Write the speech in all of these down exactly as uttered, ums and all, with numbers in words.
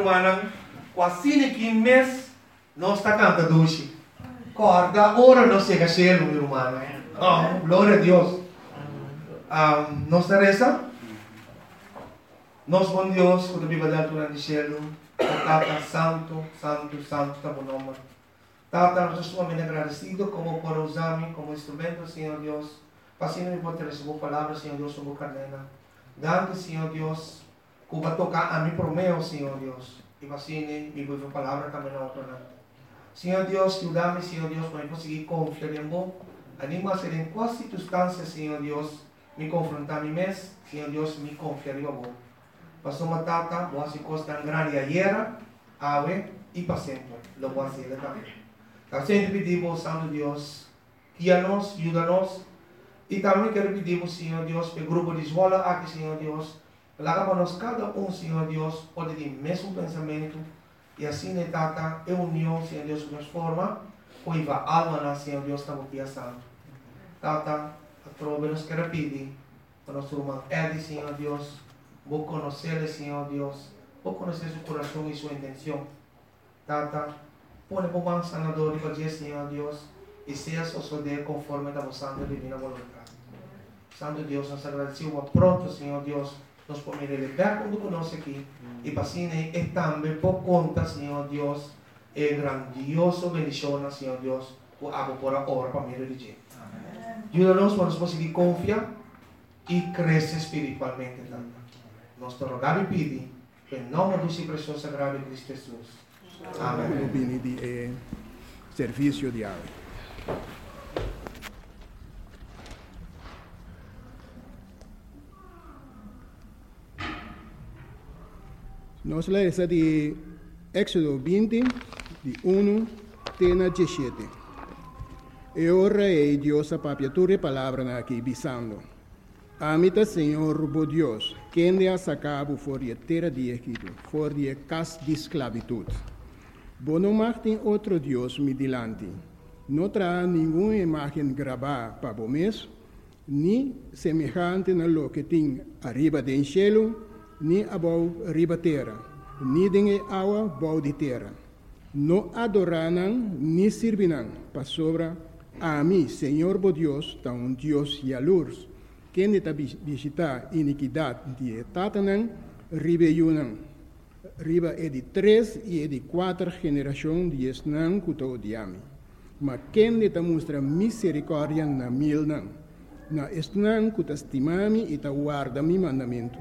Rumannan, ku asina aki mes nos ta kanta dushi. Kòrda ora nos yega shelu, mi rumannan. Oh, gloria na Dios. Um, nos ta resa? Nos bon Dios, ku ta biba den altura di shelu, Tata santu, santu, santu, ta bo nòmber. Tata, nos ta sumamente agradesido komo por usa mi komo instrumento, Señor Dios, pa asina mi por trese bo palabra, Señor Dios, pa bo karnénan. Danki, Señor Dios, ku bo a toka ami promé, Señor Dios, i pa asina mi por palabra tambe na otronan. Señor Dios, yuda mi, Señor Dios, pa mi por sigui konfia den bo. Animá den kualke sirkunstansia, Señor Dios, mi konfrontá mi mes, Señor Dios, mi konfia riba bo. Pasobra Tata, bo a hasi kos tan grandi ayera, awe i pa semper. Lo bo hasi tambe. Ta semper pidi bo, Santu Dios, guia nos, yuda nos. I tambe ke pidi, Señor Dios, pa e grupo di Zwolle aki, Señor Dios, laga pa nos kada un, Señor Dios, por tin mesun pensamentu, i asina, Tata, e union, Señor Dios, nos forma, por hiba almanan, Señor Dios, na pia santu. Tata, atrobe nos ke pidi, pa nos ruman Eddie, Señor Dios, bo konosé, Señor Dios, bo konosé su kurason i su intenshon. Tata, pone bo man sanadó riba dje, Señor Dios, i sea sosodé konforme na bo santu divino boluntat. Santu Dios, nos ta agradesido pronto, Señor Dios, nos por mira bèk huntu ku nos aki, i pa asina e tambe por konta, Señor Dios, e grandioso bendishon, Señor Dios, ku abo por a obra pa medio di dje. Yuda nos pa nos por sigui konfia i krese spiritualmente tambe. Nos ta roga i pidi, den nòmber di presioso sagrado di Kristu Hesus. Amèn. Bini di eh, servisio di awe. Nos ta lesa di Éksodo binti, di un te na diesshete. E ora ei Dios a papia tur e palabranan aki, bisando: Ami ta Señor bo Dios, kende a saka bo for di tera di Egipto, for di kas di sklabitut. Bo no mag tin otro Dios mi dilanti. No traha ningun imágen grabá pa bo mes, ni semehante na loke tin ariba den shelu, ni abou riba tera, ni den awa bou di tera. No adorá nan, ni sirbi nan, pasobra ami, Señor bo Dios, ta un Dios yalurs, kende ta bishitá inikidat di tatanan, riba yunan, riba e di tres i e di kuater generashon di esnan ku ta odia mi. Ma kende ta mustra miserikòrdia na milnan, na esnan ku ta stima mi i ta warda mi mandamentu.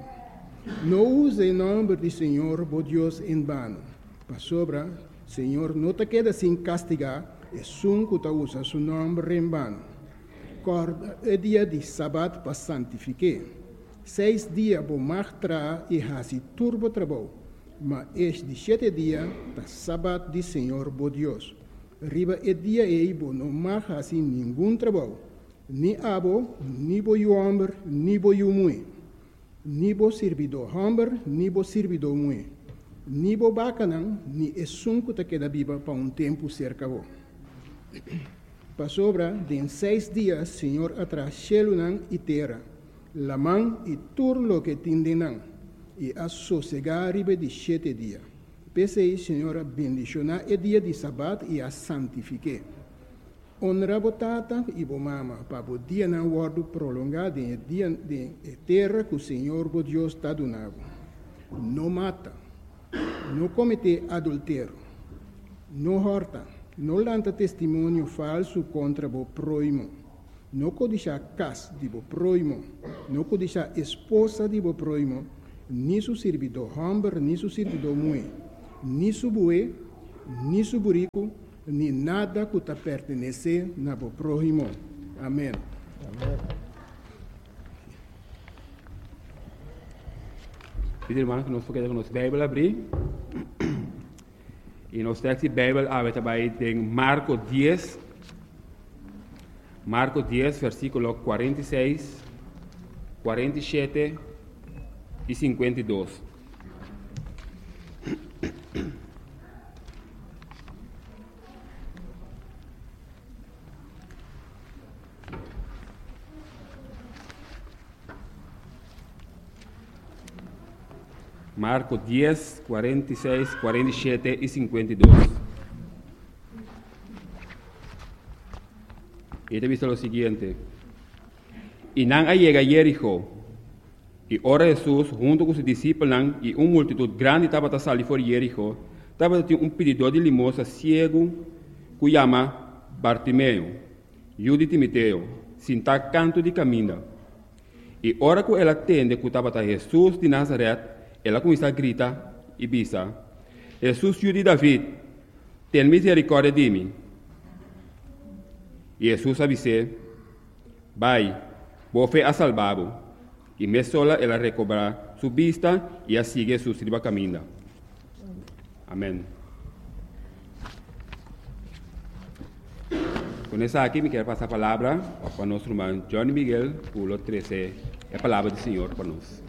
No usa e nòmber di Señor bo Dios en bano, pasobra Señor no ta keda sin kastigá esun ku ta usa su nòmber en bano. Kòrda e dia di sabat pa santifik'é. Seis dia bo mag traha i hasi tur bo trabou, ma e di shete dia ta sabat di Señor bo Dios. Riba e dia ei bo no mag hasi ningun trabou, ni abo, ni bo yu hòmber, ni bo yu muhé, ni bo sirbidó hòmber, ni bo sirbidó muhé, ni bo bakanan, ni esun ku ta keda biba pa un tempu serka bo. Pasobra den seis dia Señor a traha shelunan i tera, laman i tur loke tin den nan, i a sosegá riba di shete dia. P'esei Señor a bendishoná e dia di sabat i a santifik'é. Honra bo tata i bo mama, pa bo dianan wòrdu prolongá den dia den tera ku Señor bo Dios ta duna bo. No mata, no kometé adulterio, no hòrta, no lanta testimonio falsu kontra bo próhimo, no kodishá kas di bo próhimo, no kodishá esposa di bo próhimo, ni su sirbidó hòmber, ni su sirbidó muhé, ni su bue, ni su buriku, ni nada ku ta pertenesé na bo próhimo. Amèn. Amèn. Pidi rumannan ku nos por keda ku nos Beibel habrí. I nos teksto di Beibel awe ta bai den Marko dies. Marko dies, versíkulo kuarenta i seis, kuarenta i shete i sinkuenta i dos. Marko dies, kuarenta i seis, kuarenta i shete i sinkuenta i dos. I ta bisa lo siguiente: I nan a yega Jeriko. I ora Hesus, huntu ku su disipelnan i un multitut grandi tabata sali for di Jeriko, tabatin un pididó di limosna siegu ku yama Bartimeo, yu di Timeo, sintá kantu di kaminda. I ora ku el a tende ku tabata Hesus di Nazaret, el a kuminsá grita i bisa: "Hesus, yu di David, tene miserikòrdia di mi." I Hesus a bis'é: "Bai, bo fe a salba bo." I mesora el a rekobrá su bista i a sigui Hesus riba kaminda. Amèn. Ku esaki, mi ke pasa palabra pa nos ruman Johnny Miguel, ku lo trese e palabra di Señor pa nos.